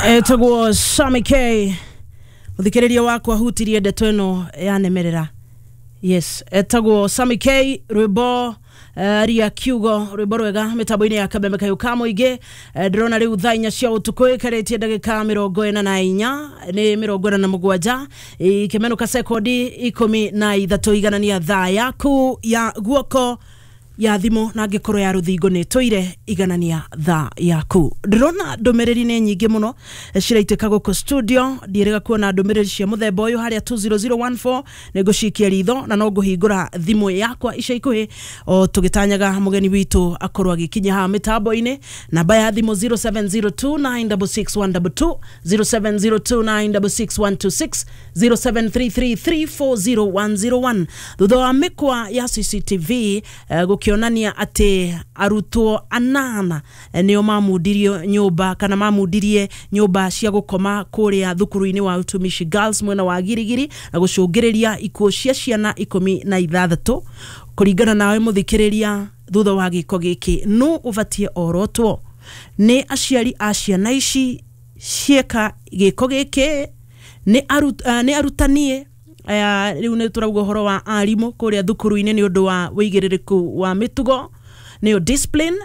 Etagwo Sammy K, muthikiriria wakwa hutirie ndeto ĩno yanemerera. Yes, etagwo Sammy K, rwĩmbo ria kiugo, rwĩmbo rwega mĩtambo-inĩ ya Kameme Kayũ ka Mũingĩ. Ndĩrona rĩu thaa 4 cia ũtukũ ĩkarĩtie ndagĩka 44, nĩ 47 ikĩmenũka sekondi 13. Iganania thaa yaku ya guoko ya thimũ na angĩkorwo ya rũthingo nĩ tũire, iganania thaa yaku. Ndĩrona ndũmĩrĩri nĩ nyingĩ mũno ciraitĩka gũkũ studio. Ndiĩrĩga kuona ndũmĩrĩri cia mũthemba ũyũ harĩa 20014. Nĩ ngũcikia ritho na no ngũhingũra thimũ yakwa ica ikuhĩ o tũgĩtanyaga mũgeni witũ akorwo agĩkinya haha mĩtambo-inĩ. Namba ya thimũ 0702966122, 0702966126, 0733340101. Thutha wa mĩkwa ya CCTV gũkĩonania atĩ arutwo anana nĩo mamundirio nyũmba kana mamundirie nyũmba cia gũkoma kũrĩa thukuru-inĩ wa Utumishi Girls mwena wa Girigiri na gũcũngĩrĩria ikuũ cia ciana 16, kũringana nawe mũthikĩrĩria, thutha wa gĩko gĩkĩ nũ ũbatiĩ orotwo? Nĩ aciari a ciana ici cieka gĩko gĩkĩ? Nĩ arutani aya? Rĩu nĩ tũrauga ũhoro wa arimũ kũrĩa thukuru-inĩ nĩ ũndũ wa wĩigĩrĩrĩku wa mĩtugo, nĩyo discipline,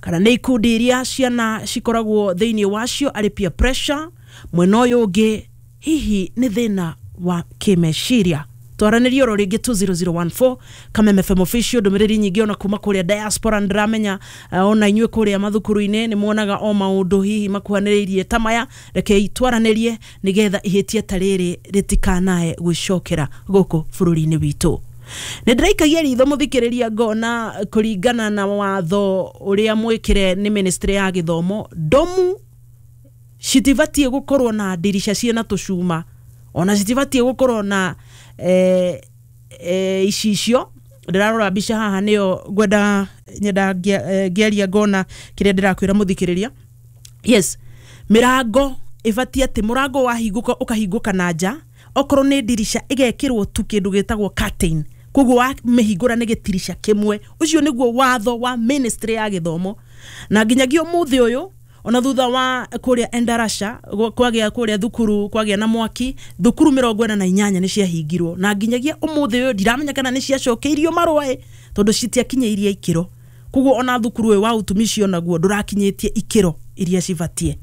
kana nĩ ikundi iria ciana cikoragwo thĩinĩ wacio arĩ peer pressure? Mwena ũyũ ũngĩ, hihi nĩ thĩna wa kĩmeciria? Twaranĩrie oro rĩngĩ 20014, Kameme FM official. Ndũmĩrĩri nyingĩ ona kuma kũrĩa diaspora. Ndĩramenya ona inyuĩ kũrĩa mathukuru-inĩ nĩ muonaga o maũndũ hihi makuhanĩrĩirie ta maya. Rekei twaranĩrie nĩgetha ihĩtia ta rĩrĩ rĩtikanae gwĩcokera gũkũ bũrũri-inĩ witũ. Nĩ ndĩraikagia ritho, mũthikĩrĩria, ngona kũringana na watho ũrĩa mwĩkĩre nĩ ministry ya gĩthomo, ndomu citibatiĩ gũkorwo na ndirica ciĩna tũcuma, ona citibatiĩ gũkorwo na icicio. Ndĩrarora mbica haha nĩyo ngwenda nyenda ngĩaria ngona kĩrĩa ndĩrakwĩra mũthikĩrĩria. Yes, mĩrango ĩbatiĩ atĩ mũrango wahingũka ũkahingũka na nja, okorwo nĩ ndirica ĩgekĩrwo tu kĩndũ gĩtagwo curtain, koguo wamĩhingũra nĩ gĩtirica kĩmwe. Ũcio nĩguo watho wa ministry ya gĩthomo, na nginyagia ũmũthĩ ũyũ, ona thutha wa kũrĩa Endarasha kwagĩa kũrĩa thukuru kwagĩa na mwaki, thukuru 48 nĩ ciahingirwo, na nginyagia ũmũthĩ ũyũ ndiramenya kana nĩ ciacokeirio marũa ĩ, tondũ citiakinyĩirie ikĩro. Koguo ona thukuru ũyũ wa Utumishi onaguo ndũrakinyĩtie ikĩro iria cibatie.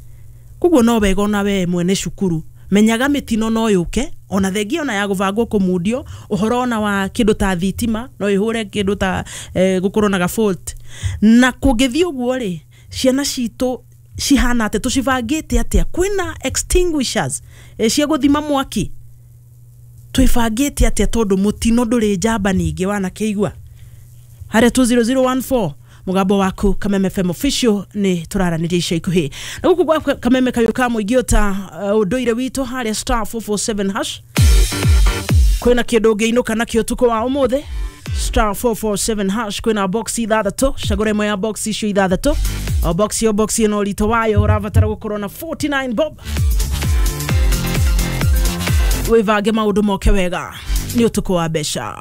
Koguo no wega ona we mwene cukuru menyaga mĩtino no yũke, ona thengia ona ya gũbangwo kũmundio ũhoro ona wa kĩndũ ta thitima no ĩhũre kĩndũ ta gũkorwo na ga fault. Na kũngĩthiĩ ũguo rĩ, ciana citũ cihana atĩ tũcibangĩte atĩa? Kwĩna extinguishers cia gũthima mwaki? Twĩbangĩte atĩa? Tondũ mũtino ndũrĩ njamba. Ningĩ wanakĩigua harĩa 20014, mũgambo waku Kameme FM official, nĩ tũraranĩria ica ikuhĩ na gũkũ gwa Kameme Kayũ ka Mũingĩ ta ũndũire witũ harĩa *447#. Kwĩna kĩndũ ũngĩinũka nakĩo ũtukũ wa ũmũthĩ. *447#, kwĩna box ithathatũ. Cagũra ĩmwe ya box icio ithathatũ. O box o box ĩno ũritũ wayo ũrabatara gũkorwo na 49 bob. Wĩvange maũndũ moke wega, nĩ ũtukũ wa mbeca.